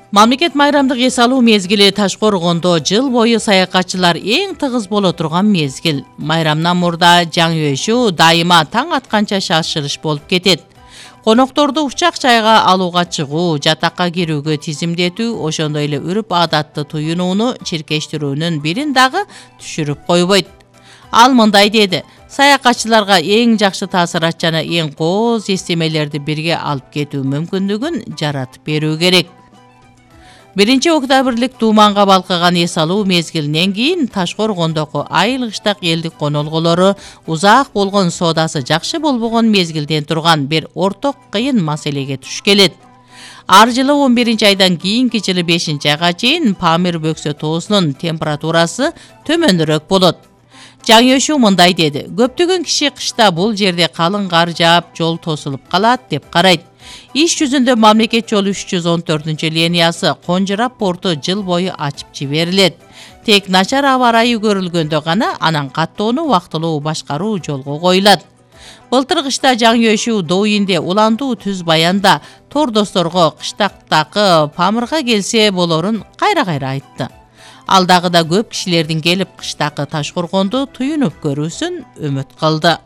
Мамлекет майрамдык эс алуу мезгили Таш-Коргондо жыл бою саякатчылар эң тыгыз боло турган мезгил. Майрамдан мурда жаңы өшүү дайыма таң атканча шашылыш болуп кетет. Конокторду учак жайга алууга чыгуу, жатакка кирүүгө тизимдетүү, ошондой эле үрүп адатты туюнууну чиркештирүүнүн бирин дагы түшүрүп койбойт. Ал мындай деди: саякатчыларга эң жакшы таасират жана эң кооз эстемелерди бирге алып кетүү мүмкүндүгүн жаратып берүү керек. 1-октябрлык тууманга балкыган эс алуу мезгилинен кийин Таш-Коргондогу айыл кыштак элдик конолгулору узак болгон соодасы жакшы болбогон мезгилден турган бир орток кыйын маселеге туш келет. Ар жылы 11-айдан кийинки жылы 5-айга чейин Памир бөксө тоосунун температурасы төмөнүрөөк болот. Жаңы өшүү мындай деди: көптөгөн киши кышта бул жерде калың кар жаап, жол тосулуп калат деп карайт. Иш жүзүндө мамлекет жолу 314-линиясы Конжурап порту жыл бою ачып жиберилет. Тек начар аба ырайы көрүлгөндө гана анан каттоону убактылуу башкаруу жолго коюлат. Былтыр кышта жаңы өшүү Дойинде уландуу түз баянда тордосторго кыштактагы Памирга келсе болорун кайра айтты. Ал дагы да көп кишилердин келип кыштакы Таш-Коргонду туюнуп көрүүсүн үмүт кылды.